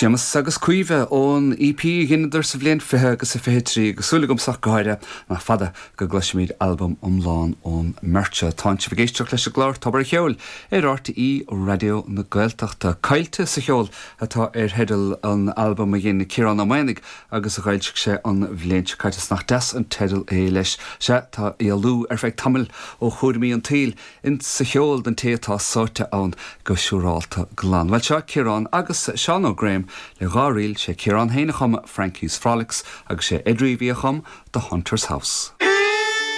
Séamus agus Caoimhe ón EP a dheineadar sa bhliain 20 agus a 23 agus súil agamsa ach go háirithe nach fada go gcloisfimid albam iomlán ón mbeirt seo. Tánn sibh ag éisteacht leis an gclár Tobar an Cheoil ar RTÉ Raidió na Gaeltachta. Caillte sa Cheol atá ar theideal an albaim a dhein Ciarán Ó Maonaigh agus a dh'fhoilsigh sé an bhliain seo caite. Is nach deas an teideal é leis. Sea, tá éalú ar feadh tamaill ó chúraimí an tsaoil In sa cheol don té atá sáite ann go siúrálta glan. Bhuel, seo Ciarán agus Seán Ó Graham le dha ríl, sé Ciarán féin a chum Frankie's Frolics agus sé Ed Reavy a chum The Hunter's House.